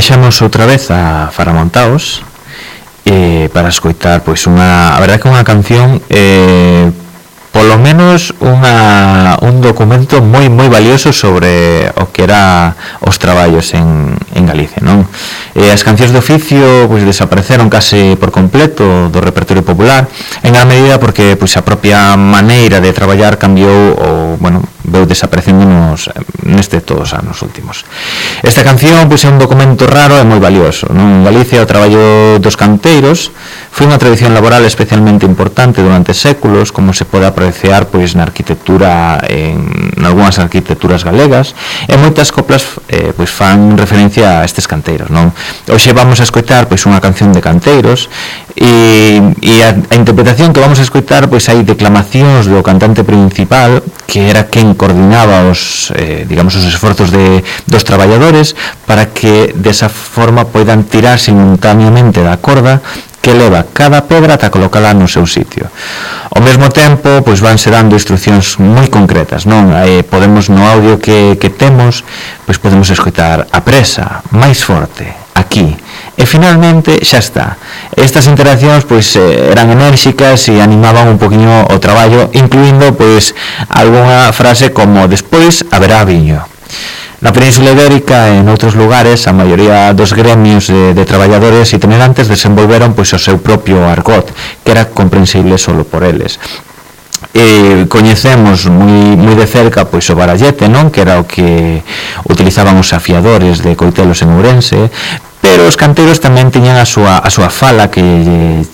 baixamos outra vez a Faramontaos para escoitar pois a verdade que unha canción polo menos un documento moi valioso sobre o que era os traballos en Galicia, non? As cancións de oficio pois desapareceron case por completo do repertorio popular, en gran medida porque pois a propia maneira de traballar cambiou ou, bueno, veu desaparecendo neste todos os anos últimos. Esta canción pois é un documento raro e moi valioso, non? En Galicia o traballo dos canteiros foi unha tradición laboral especialmente importante durante séculos, como se pode apreciar pois na arquitectura en algunhas arquitecturas galegas, e moitas coplas pois fan referencia a estes canteiros, non? Hoxe vamos a escoitar pois unha canción de canteiros e a interpretación que vamos a escoitar pois hai declamacións do cantante principal, que era quen coordinaba os esforzos dos traballadores para que desa forma poidan tirar simultaneamente da corda que leva cada pedra ata colocala no seu sitio. Ao mesmo tempo, pois vanse dando instruccións moi concretas, non? Podemos no audio que temos, pois podemos escoitar a presa, máis forte, aquí. E finalmente xa está. Estas interaccións pois eran enérxicas e animaban un poquinho o traballo, incluindo pois algunha frase como despois haberá viño. Na Península Ibérica e en outros lugares, a maioría dos gremios de traballadores itinerantes desenvolveron pois o seu propio argot, que era comprensible solo por eles. Coñecemos moi de cerca pois o barallete, non? Que era o que utilizaban os afiadores de coitelos en Ourense, pero os canteiros tamén tiñan a súa fala, que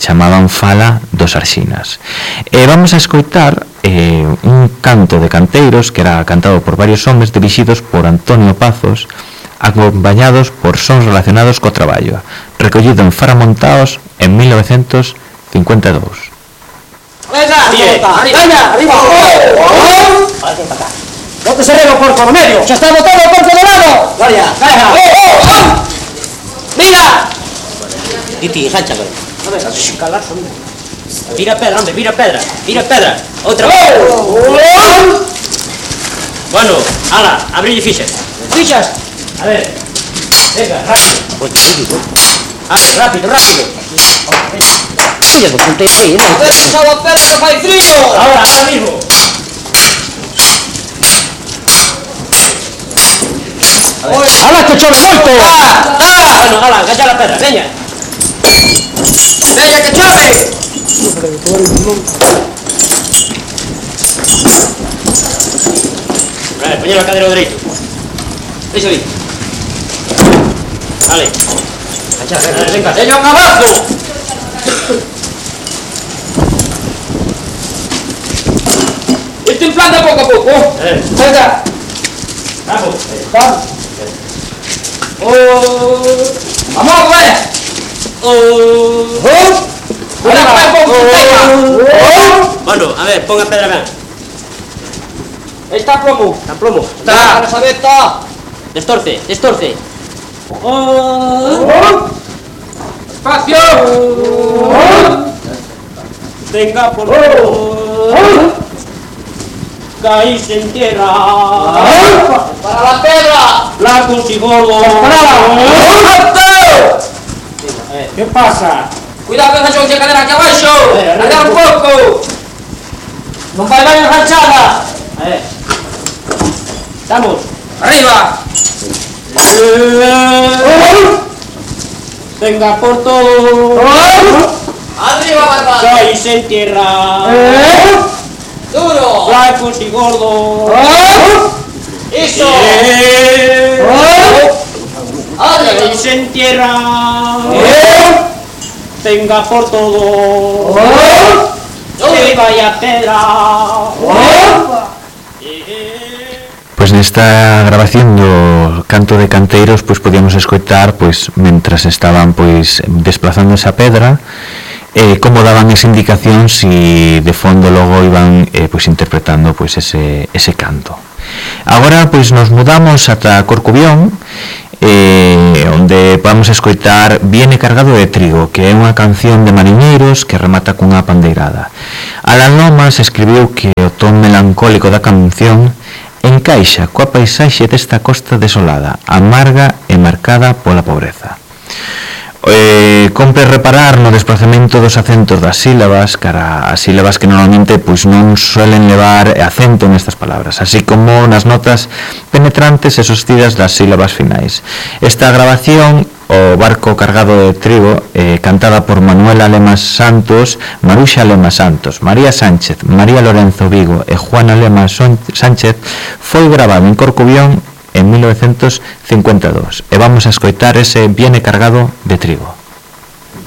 chamaban fala dos arxinas. Vamos a escoitar un canto de canteiros que era cantado por varios homes dirixidos por Antonio Pazos, acompañados por sons relacionados co traballo, recollido en Faramontaos en 1952. ¡Venga! ¡Arriba! ¡Bote sereno, porco, no medio! ¡Ya está botado el porco de lado! ¡Gloria! ¡Mira! Titi, jancha, güey. No me estás sin calar, hombre. Vira pedra, hombre, vira pedra. Otra vez. Bueno, ala, abrille fichas. ¿Fichas? A ver. Venga, rápido. A ver, rápido. Oye, pues ponte ahí, ¿no? A ver, pisado pedra que fai frío. Ahora mismo. ¡Hala, que chove moito! Bueno, hala, calla la pedra, veña! Veña, que chove! A ver, poñelo a cadero dereito. Deixa ali. Vale. Calla, venga, veña un abajo! Irte en plan de pouco a pouco. Venga. Vamos. ¡Vamos, güey! Bueno, a ver, ponga pedra, vean. Está plomo. Está la sabeta. Destorce. Espacio. Venga por favor. Caíse en tierra. Para la pedra. Blancos y gordos. ¿Qué pasa? Cuidado que enganchou esa cadera aquí abaixo. Arriba un pouco. Non vai enganchada. A ver. Vamos. Arriba. Venga por todo. Arriba, barba. Caíse en tierra. Duro. Blancos y gordos. Eso. Caíse en tierra. Venga por todo. Que vaya pedra. Pois nesta grabación do canto de canteiros pois podíamos escoitar pois mentras estaban pois desplazando esa pedra como daban esa indicación si de fondo logo iban pois interpretando pois ese canto. Agora pois nos mudamos ata Corcubión, onde vamos escoitar Viene cargado de trigo, que é unha canción de mariñeiros que remata cunha pandeirada. Alan Lomas escribiu que o ton melancólico da canción encaixa coa paisaxe desta costa desolada, amarga e marcada pola pobreza. Compre reparar no desplazamento dos acentos das sílabas cara as sílabas que normalmente pois non suelen levar acento nestas palabras, así como nas notas penetrantes e sostidas das sílabas finais. Esta grabación, O barco cargado de trigo, cantada por Manuela Lemas Santos, Maruxa Lemas Santos, María Sánchez, María Lorenzo Vigo e Juana Lemas Sánchez, foi grabado en Corcubión en 1952 e vamos a escoitar ese Viene cargado de trigo.